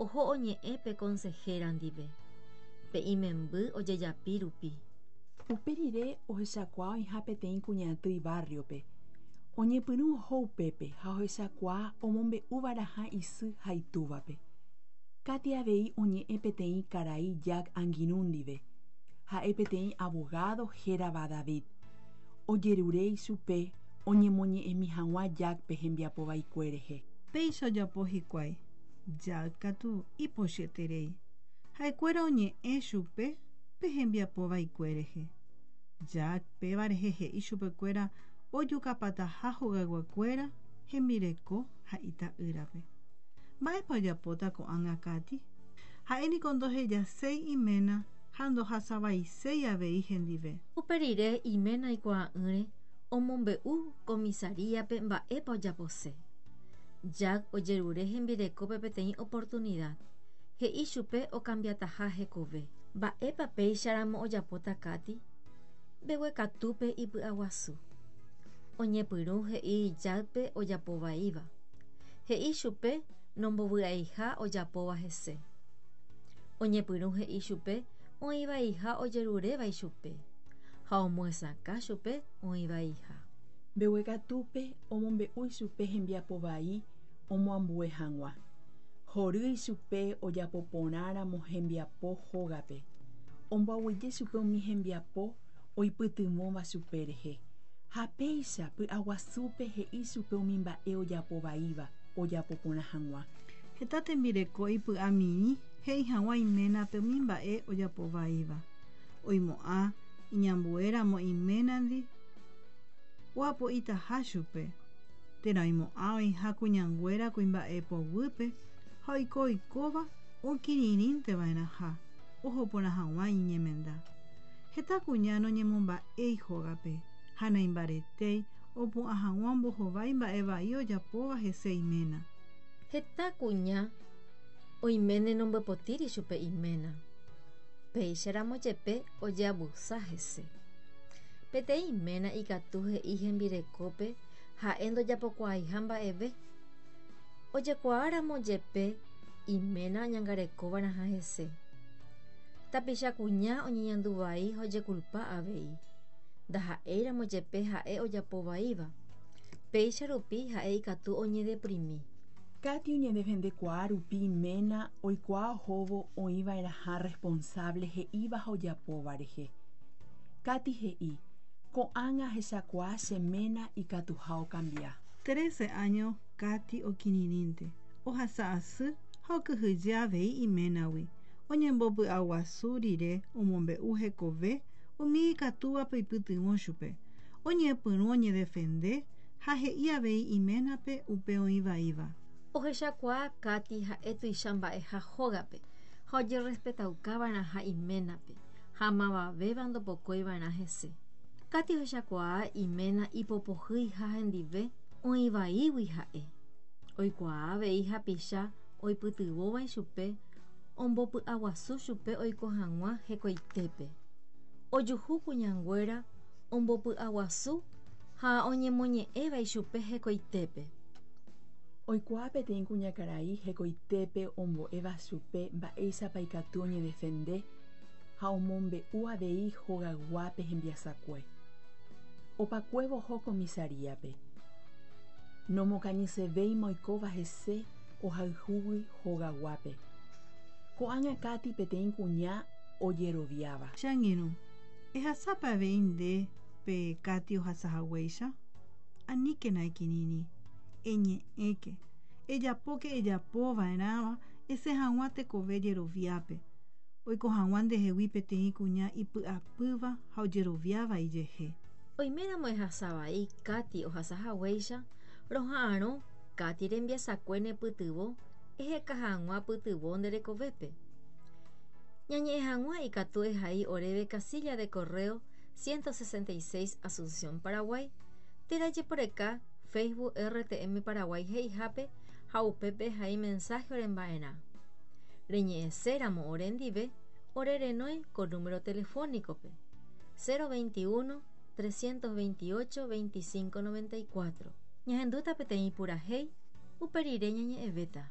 oho oñe'ẽ pe konsehéra ndive, pe imemby ojejapi rupi. Upe rire ohechakuaa oĩha peteĩ kuñaty ibárriope. Oñepyrũ oho upépe ha ohechakuaa omombe'uva'erãha isy ha itúvape. Katy avei oñe'ẽ peteĩ karai Jack angirũ ndive. Ha'e peteĩ avogádo hérava David. Ojerure ichupe oñemoñe'ẽmi hag̃ua Jack-pe hembiapo vaikue rehe. Péicha ojapo hikuái, Jack katu ipochyeterei. Ha'ekuéra oñe'ẽ chupe pe hembiapo vaikue rehe. Jack péva rehe he'i chupekuéra ojukapataha hogayguakuéra, hembireko ha ita'ýrape. Mba'épa ojapóta ko'ág̃a Katy? Ha'e niko ndohejaséi iména ha ndohasavaiséi avei hendive. Upe rire iména oikuaa'ỹre omombe'u komisaríape mba'épa ojapose. Jack ojerure hembirekópe peteĩ oportunida, he'i chupe okambiataha hekove. Mba'épa péicharamo ojapóta Katy? Mbeguekatúpe ipy'aguasu. Oñepyrũ he'i Jackpe ojapo vaíva. He'i chupe nombovy'aiha ojapóva hese. Oñepyrũ he'i chupe oĩ vaiha ojeruréva ichupe, ha omyesakã chupe oĩ vaiha. Mbeguekatúpe omombe'u ichupe hembiapo vai omoambue hag̃ua. Hory ichupe ojapo porãramo hembiapo hógape. Omboaguyje chupe umi hembiapo oipytyvõva chupe rehe. Ha péicha py'aguasúpe he'i chupe umi mba'e ojapo vaíva ojapo porã hag̃ua. Heta tembireko ipy'amirĩ he'i hag̃ua iménape umi mba'e ojapo vaíva. Oimo'ã iñambuéramo iménandi oapo'itaha chupe, térã oimo'ã oĩha kuñanguéra kuimba'e poguýpe ha oiko oikóva okirirĩnte va'erãha oho porã hag̃ua iñemenda. Heta kuña noñemomba'éi hógape ha naimbaretéi opu'ã hag̃ua ombohovái mba'e vai ojapóva hese iména. Heta kuña oiméne nombyepotĩri chupe iména, péicharamo jepe ojeavusa hese. Peteĩ iména ikatu he'i hembirekópe ha'e ndojapokuaaiha mba'eve. Ojekuaáramo jepe iména oñangarekova'erãha hese. Tapicha kuña oñeñandu vai ha ojekulpa avei, ndaha'éiramo jepe ha'e ojapo vaíva. Péicha rupi ha'e ikatu oñedeprimi. Katy oñedefendekuaa rupi iména oikuaa ohóvo oĩva'erãha responsable he'íva ha ojapóva rehe. Katy he'i, Ko'ág̃a ahechakuaa che ména ikatuha okambia. Trece áño Katy okirirĩnte, ohasa asy ha okyhyje avei iménagui. Oñembopy'aguasu rire omombe'u hekove umi ikatúvape oipytyvõ chupe. Oñepyrũ oñedefende ha he'i avei iménape upe oĩ vaíva. Ohechakuaa Katy ha'e tuicha mba'eha hógape ha ojerrespetaukava'erãha iménape ha mavavéva ndopokoiva'erã hese. Katy ohechakuaa iména ipopohýiha hendive oĩ vaígui ha'e. Oikuaa avei hapicha oipytyvõva ichupe ombopy'aguasu chupe oiko hag̃ua hekoitépe. Ojuhu kuñanguéra ombopy'aguasu ha oñemoñe'ẽva ichupe hekoitépe. Oikuaa peteĩ kuñakarai hekoitépe ombo'éva chupe mba'éichapa ikatu oñedefende ha omombe'u avei hogayguápe hembiasakue. Opakuévo oho komisaríape. Nomokañysevéima oikóva hese ohayhúgui hogaguápe. Ko'ág̃a Katy peteĩ kuña ojeroviáva. Che angirũ, ehasápa avei nde pe Katy ohasa haguéicha? Aníkena ekirirĩ, eñe'ẽke, ejapóke ejapo va'erãva esẽ hag̃ua tekove jeroviápe, oiko hag̃ua ndehegui peteĩ kuña ipy'apýva ha ojeroviáva ijehe. Oiméramo ehasa vai Katy ohasa haguéicha, roha'arõ Katy rembiasakue nepytyvõ eheka hag̃ua pytyvõ nde rekovépe. Ñañe'ẽ hag̃ua ikatu ehai oréve casilla de correo 166 Asunción, Paraguay, térã ejeporeka Facebook RTM Paraguay he'ihápe ha upépe ehai mensaje oremba'erã. Reñe'ẽséramo ore ndive, ore renói ko número telefónico-pe, 021 328 25 94. Ñahendúta peteĩ purahéi, upe rire ñañe'ẽvéta.